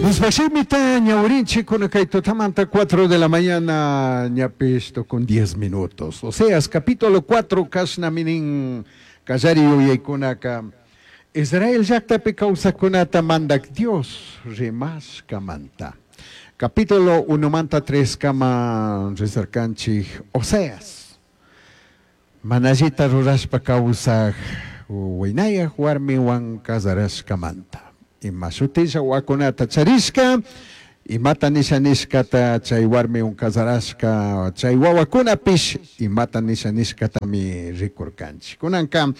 Diospashimita ñawirinchik kay tutamanta 4 de la mañana ñapish con 10 minutos. Oseas capítulo 4 kashnami nin kallari yuyaykunaka Israel llaktapi kawsakkunata mandak Dios rimashkamanta. Capítulo 1 manta 3 kama rizarkanchik Oseas. Mana allita rurashpa kawsaj waynayaj warmiwan casarashkamanta. Ima shutilla wawakunata charishka, imata nisha nishkata chay warmiwan casarashka, chay wawakunapish imata nisha nishkatami rikurkanchik. Kunanka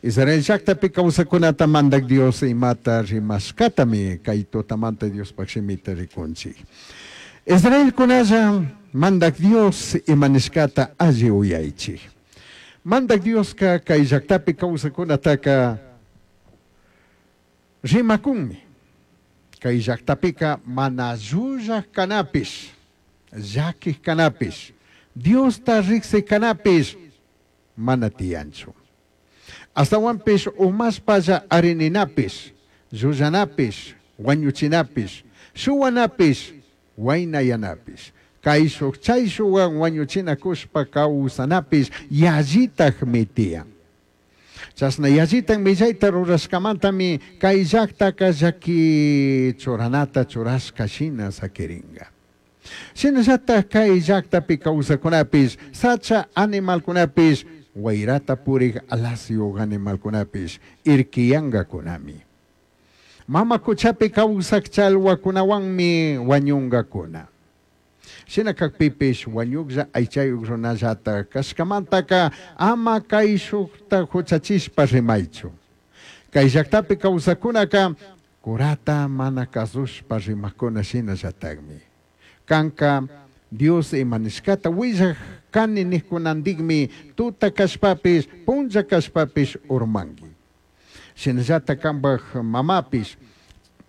Israel llaktapi kawsakkunata mandak Dios imata rimashkatami kay tutamanta Diospaj shimita rikunchik. Israelkunalla mandak Dios ima nishkata alli uyaychik. Mandak Dioska kay llaktapi kawsakkunataka rimakunmi. Kay llaktapika mana llullaj kanapish, llaquij kanapish, Diosta riksij kanapish mana tiyanchu. Ashtahuanpish umashpalla arininapish, llullanapish, huañuchinapish, shuhuanapish, huainayanapish, caishuj chaishuhuan huañuchinacushpa causanapish yallitajmi tiyan. Chashna yallitaj millaita rurashcamantami kay llactaka llaqui churanata churashca shina saquiringa. Shinallataj kay llactapi causacunapish, sacha animalcunapish, huairata purij alasyuj animalcunapish irquiyangacunami. Mama cuchapi causaj chalhuacunahuanmi huañungacuna. Shina cajpipish huañujlla aichayuj runallata cashcamantaka ama caishujta juchachishpa rimaichu. Kay llaktapi kawsakkunaka curata mana kazushpa rimakuna shinallatakmi. Kanka Dios ima nishkata willaj kani nijkunandikmi tuta kashpapish punlla kashpapish urmanki. Shinallatak kanpaj mamapish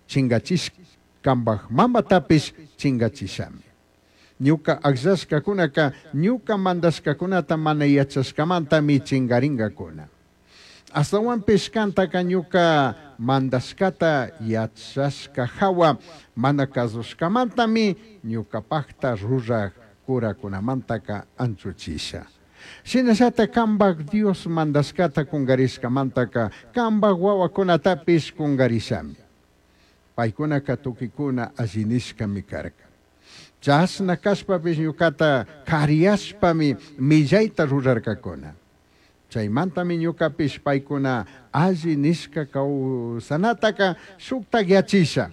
chingachish kanpaj mamatapish chingachishami. Ñuka akllashkakunaka ñuka mandashkakunata mana yachashkamantami chingaringakuna. Ashtahuanpish kantaka ñuka mandashkata yachashka hawa mana kazushkamantami ñukapakta ruraj curakunamantaka anchuchisha. Shinallatak kanpaj Dios mandashkata kungarishkamantaka kanpaj wawakunatapish kungarishami. Paykunaka tukikuna alli nishkami karka. Chashna kashpapish ñukata kariyashpami millayta rurarkakuna. Chaymantami ñukapish paykuna alli nishka kawsanataka shuktakyachisha.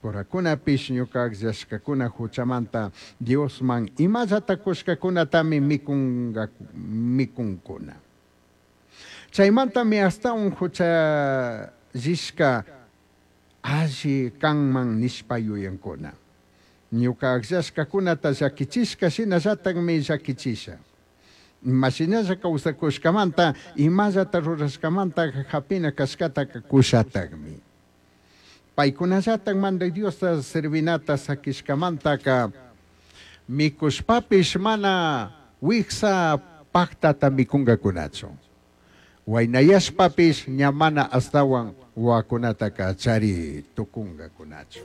Curakunapish ñuka akllashkakuna huchamanta Diosman imallata kushkakunatami mikunkuna. Chaymantami ashtawan huchallishka alli kanman nishpa yuyankuna. Ñuka akllashkakunata llakichishka shinallatakmi llakichisha. Imashinalla kawsakushkamanta imallata rurashkamanta hapina kashkataka kushatakmi. Paykunallatak mandak Diosta servinata sakishkamantaka mikushpapish mana wiksa paktata mikunkakunachu. Waynayashpapish ña mana ashtawan wawakunataka chari tukunkakunachu.